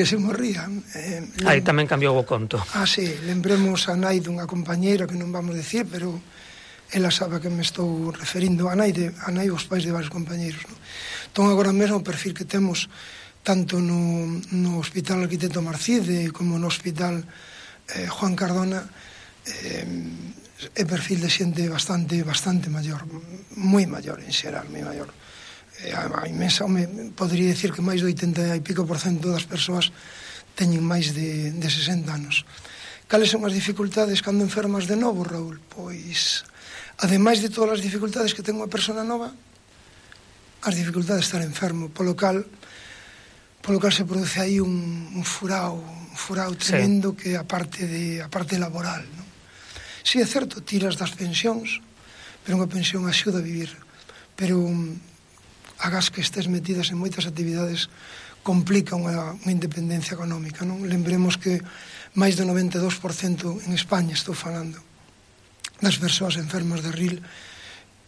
Que se morría. Aí tamén cambiou o conto. Sí, lembremos a nai dunha compañeira que non vamos decir, pero ela sabe a que me estou referindo, a nai os pais de varios compañeiros, non? Entón, agora mesmo o perfil que temos tanto no Hospital Arquitecto Marcide como no Hospital Juan Cardona é perfil de xente bastante maior, moi maior en xeral, moi maior. A inmensa, podría dicir que máis do 80 e pico % das persoas teñen máis de 60 anos. Cales son as dificultades cando enfermas de novo, Raúl? Pois, ademais de todas as dificultades que ten unha persona nova, as dificultades de estar enfermo, polo cal se produce aí un furao tremendo que a parte laboral, non? Si é certo, tiras das pensións, pero unha pensión axuda a vivir, pero agás que estés metidas en moitas actividades complica unha independencia económica, non? Lembremos que máis do 92% en España, estou falando, das persoas enfermas de RIL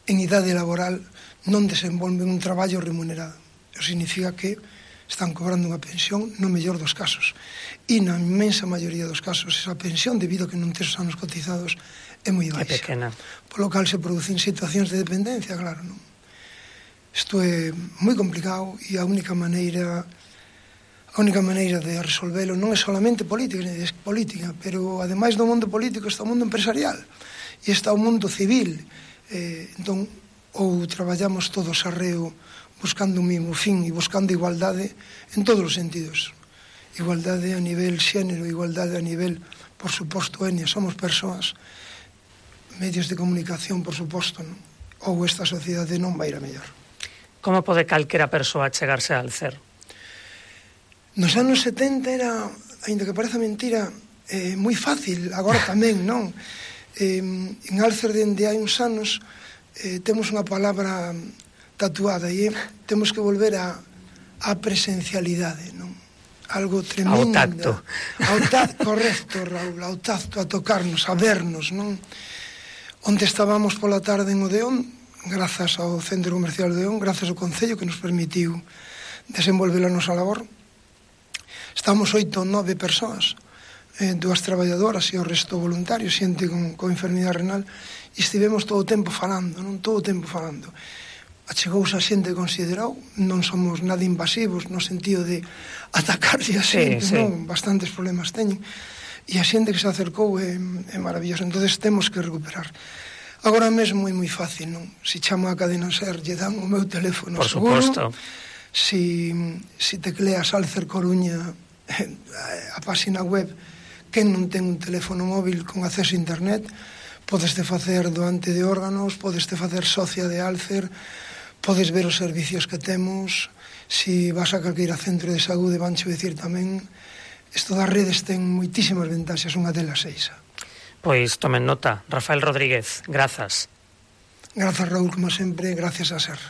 en idade laboral non desenvolven un traballo remunerado. Eso significa que están cobrando unha pensión no mellor dos casos. E na inmensa maioría dos casos esa pensión, debido a que non tes os anos cotizados, é moi baixa. É pequena. Polo cal se producen situacións de dependencia, claro, non? Isto é moi complicado e a única maneira de resolvelo non é solamente política, pero ademais do mundo político está o mundo empresarial e está o mundo civil. Entón, ou traballamos todos arreo buscando un mismo fin e buscando igualdade en todos os sentidos. Igualdade a nivel xénero, igualdade a nivel, por suposto, etnia, somos persoas, medios de comunicación, por suposto, non? Ou esta sociedade non vai ir a mellor. Como pode calquera persoa chegarse a Alcer? Nos anos 70 era, ainda que pareza mentira, moi fácil, agora tamén, non? En Alcer, dende hai uns anos, temos unha palabra tatuada e temos que volver á presencialidade, non? Algo tremendo. Ao tacto. Correcto, Raúl, ao tacto, a tocarnos, a vernos, non? Onde estábamos pola tarde en Odeón, grazas ao Centro Comercial de Odeón, grazas ao Concello que nos permitiu desenvolver a nosa labor. Estamos 8 ou 9 persoas, 2 traballadoras e o resto voluntarios, xente con enfermidade renal, e estivemos todo o tempo falando, non? Todo o tempo falando. Achegouse a xente que considerou, non somos nada invasivos no sentido de atacarse a xente, non? Bastantes problemas teñen, e a xente que se acercou é maravilloso. Entonces temos que recuperar. Agora mesmo é moi fácil, non? Se chamo a Cadena SER, lle dan o meu teléfono seguro. Por suposto. Si tecleas Alcer Coruña, a página web, quen non ten un teléfono móvil con acceso a internet, podeste facer doante de órganos, podeste facer socia de Alcer, podes ver os servicios que temos. Si vas a calqueira centro de saúde, vanche dicir tamén. Isto das redes ten moitísimas ventaxas, unha delas é esa. Pois tomen nota. Rafael Rodríguez, grazas. Grazas, Raúl, como sempre, gracias a SER.